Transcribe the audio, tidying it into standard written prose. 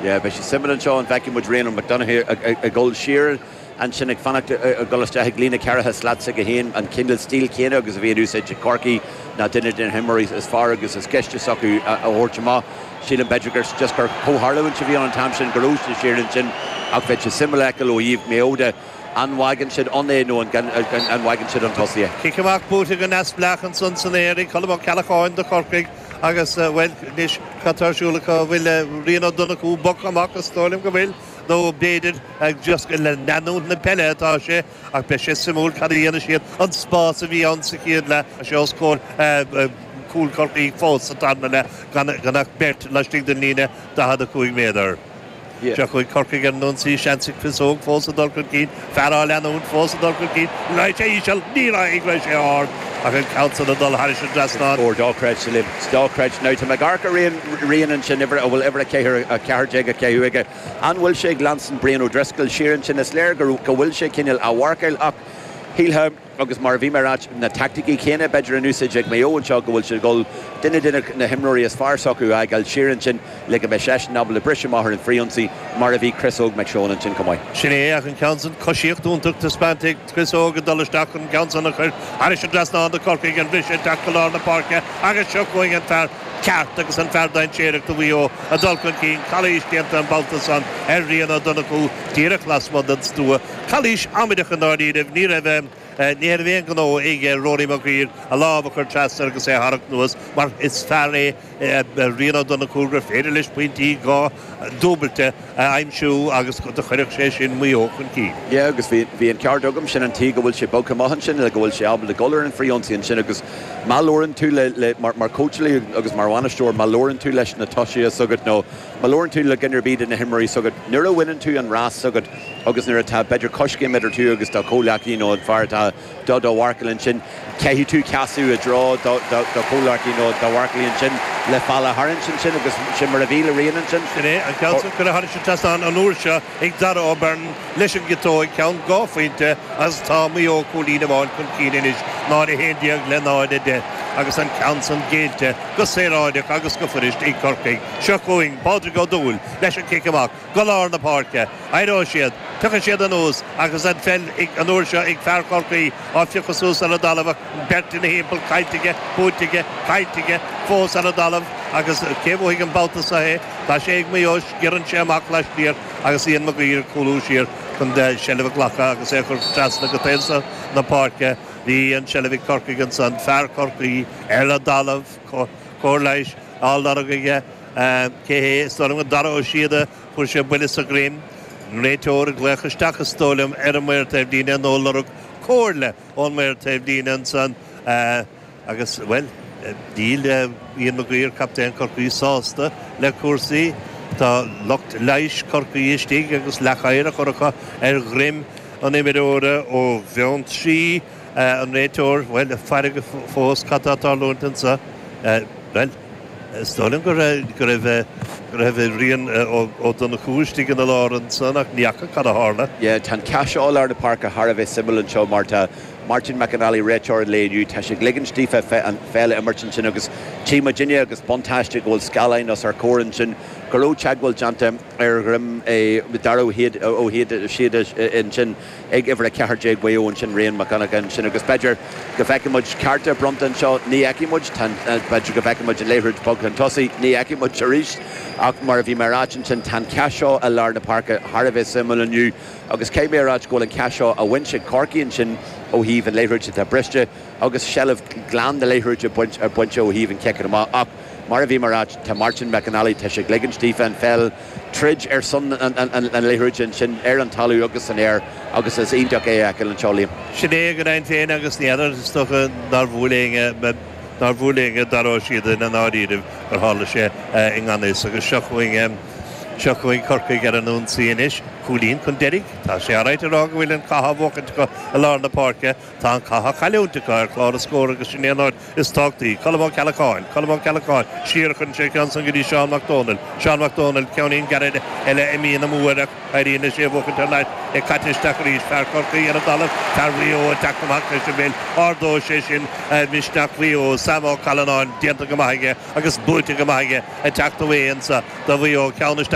Yeah, beidh sé suimiúil anseo an bhfeicfidh muid Rian McDonagh ag dul siar ansin ag fanacht ag dul isteach ag líne ceathracha slat s'aige féin, an cineál stíl chéanna agus a bhí in úsáid ag Corcaigh ná duine de na himreoirí is fearr agus is gaiste s'acu a thabhairt amach. Sílim b'fhéidir gur just gur comhtharlúint a bhí ann an t-am sin go raibh sé siar ansin ach bheadh sé suimiúil a fheiceáil ó thaobh Maigh Eo de an bhfágann siad ann é nó an bhfágann siad chun tosaigh é. Cic amach buaite go neamhspleách ansan san aer ag Colm Ó Ceallacháin do Chorcaigh agus, bhuel, anois cad tá ar siúl acu? An bhfuil Rian Ó Donnchú bogtha amach? Is dóigh liom go bhfuil, nó b'fhéidir just le leanúint na peile atá sé ach beidh sé suimiúil cad a dhéanfaidh siad. An spás a bhí ann sa chéad leath, tá sé os comhair cúl Chorcaí fós sa tarna leath gan ach beirt laistigh den líne 45 méadar. Seo chugainn Corcaigh ar an ionsaí, seans ag Chris Óg fós a dul chun cinn, fear á leanúint fós a dul chun cinn, raibh sé íseal, ní raibh, raibh sé ard ach an ceann san ag dul thairis an dtrasnán. Scór dochreidte, Liam. Dochreidte. Now tá mé ag amharc ar Rian, Rian ansin, uimhir, a bhfuil uimhir 4, 14 á caitheamh aige. An bhfuil sé ag leanstan Brian O'Driscoll siar ansin? Is léir go, go bhfuil sé cineál á mharcáil ach shílfeá, Agus mar a bhí mé a ráit, na teaicticí céanna b'fhéidir in úsáid ag Maigh Eo anseo, go bhfuil siad ag dul duine de na himreoirí is fearr s'acu a fhágáil siar ansin le go mbeidh seisean ábalta briseadh amach ar an frithionsaí, mar a bhí Chris Óg McShane ansin chomh maith. Sin é, ach an ceann san, coisíocht iontach taispeánta ag Chris Óg ag dul isteach chun an ceann san a chur thairis an dtrasnán do Chorcaigh, an briseadh ag teacht go lár na páirce agus seo chugainn an fear ceart agus an fear dainséarach do Mhaigh Eo ag dul chun cinn, calaois déanta an babhta san ar Rian Ó Donnchú díreach lasmuigh den stua. Calaois amaideach i ndáiríribh, ní raibh ní raibh aon ghnó ag Rory Maguire a lámh a chur trasna agus é a tharrac anuas mar is fear é Rian Ó Donnchú gur féidir leis pointí dhá dúbailte a aimsiú agus do chuirfeadh sé sin Maigh Eo chun cinn. Yeah agus bhí bhí an ceart agam, sin an tuige go bhfuil sé bogtha amach ansin le go bhfuil sé ábalta dul ar an frithionsaí ansin agus má labhrann tú le le mar mar chóitseálaí agus mar bhainisteoir má labhrann tú leis na tosaithe s'agat nó má labhrann tú le duine ar bith de na himreoirí s'agat nuair a bhaineann tú an rás s'agat agus nuair atá b'fhéidir coiscéim idir tú agus do chomhghleacaí nó an fear atá do do mharcáil ansin, caithfidh tú casadh i dtreo do do chomhghleacaí nó do mharcálaí ansin le feall a tharraingt ansin agus sin mar a bhí le Rian ansin. Sin é, an ceann san curtha thairis an trasnán an uair seo ag Dara O'Byrne leis an gciotóig, ceann 2 phointe agus tá Maigh Eo cúilín amháin chun cinn anois, 0-11 le 0-10 agus an ceann san géillte go saoráideach agus go fuirist ag Corcaigh. Seo chugainn Pádraig Ó Dúill leis an cic amach. go lár na páirce. Éireoidh siad. Tiocfaidh siad anuas agus an pheil an uair seo ag fear Chorcaí á phiocadh suas ar an dtalamh ach beirt ina thimpeall, caillte aige, buaite aige, caillte aige, fós ar an dtalamh agus cé a bhuafaidh an babhta seo é? Tá sé ag Maigh Eo, sciorrann sé amach laistiar agus Ian Maguire ag cúlú siar chun seilbh a ghlacadh agus é a chur trasna go taobh seo na páirce. Bhí an tseilbh ag Corcaigh ansan, fear Chorcaí ar an dtalamh, cóir leighis á lorg aige. Cé hé? Is dóigh liom gur Dara Ó Síoda. Fuair sé buille sa dhroim. An réiteoir ag glaoch isteach is dóigh liom ar an maor taobhlíne nó ag lorg comhairle ón maor taobhlíne ansan agus, bhuel, níl Ian Maguire, captaen Chorcaí, sásta le cúrsaí. Tá lucht leighis Chorcaí istigh agus leacoighir á chur acu ar dhroim an imreora ó Bheanntraí. An réiteoir, bhuel, ag faire fós cad tá ag tarlúint anso. Bhuel. Is dóigh liom go raibh go raibh Rian Ó Donnchú istigh ina lár ansan ach ní fhaca cad a tharla. Yeah, tá an cath seo i lár na páirce thar a bheith suimiúil anseo mar tá Martin McAnally, réiteoir an lae inniu, tá sé ag ligint daofa an pheil a imirt ansin agus tchí muidinne agus buntáiste go bhfuil scáileáin os ár comhair ansin go raibh teagmháil déanta ar dhroim Dara Ó Síoda ansin. ag uimhir 14 Mhaigh Eo ansin, Rian Mac Donncha ansin agus b'fhéidir go bhfeicfidh muid cárta bronnta anseo, ní fheicfidh muid, b'fhéidir go bhfeicfidh muid an liathróid bogtha chun tosaigh, ní fheicfidh muid arís ach mar a bhí mé a ráit ansin, tá an cath seo i lár na páirce thar a bheith suimiúil inniu agus caithfidh mé a ráit go bhfuil an cath seo á bhaint ag Corcaigh ansin ó thaobh an liathróid atá briste agus seilbh glan na liathróide bainte ó thaobh an chiceanna amach ach mar a bhí mé a ráit, tá Martin McAnally, tá sé ag ligint daofa an pheil. troid ar son an liathróid ansin ar an talamh agus san aer agus is iontach é a fheiceáil anseo, Liam. Sin é go deimhin féin agus ní fheadar, is dócha nár bhuail éinne, nár bhuail éinne Dara Ó Síoda i ndáiríribh gur tharla sé i ngan fhios agus seo chugainn, seo chugainn Corcaigh ar an ionsaí anois. Cúilín chun deiridh. Tá sé alright a rá go bhfuil an cath á bhuachaint acu i lár na páirce. Tá an cath á chailliúint acu ar chlár na scór agus sin é an áit is tábhachtaí. Colm Ó Ceallacháin, Colm Ó Ceallacháin, siar a chuireann sé an ceann san go dtí Seán Mac Dónaill, Seán Mac Dónaill, ceainnín gairid eile imithe amú air ach éiríonn leis é a bhuachaint thar n-ais, é caite isteach arís, fear Chorcaí ar an dtalamh, fear Mhaigh Eo ag teacht amach leis an bpeil, ardóidh sé sin misneach Mhaigh Eo, Sam Ó Callanáin déanta go maith aige agus buaite go maith aige ag teacht away anso do Mhaigh Eo, ceann isteach.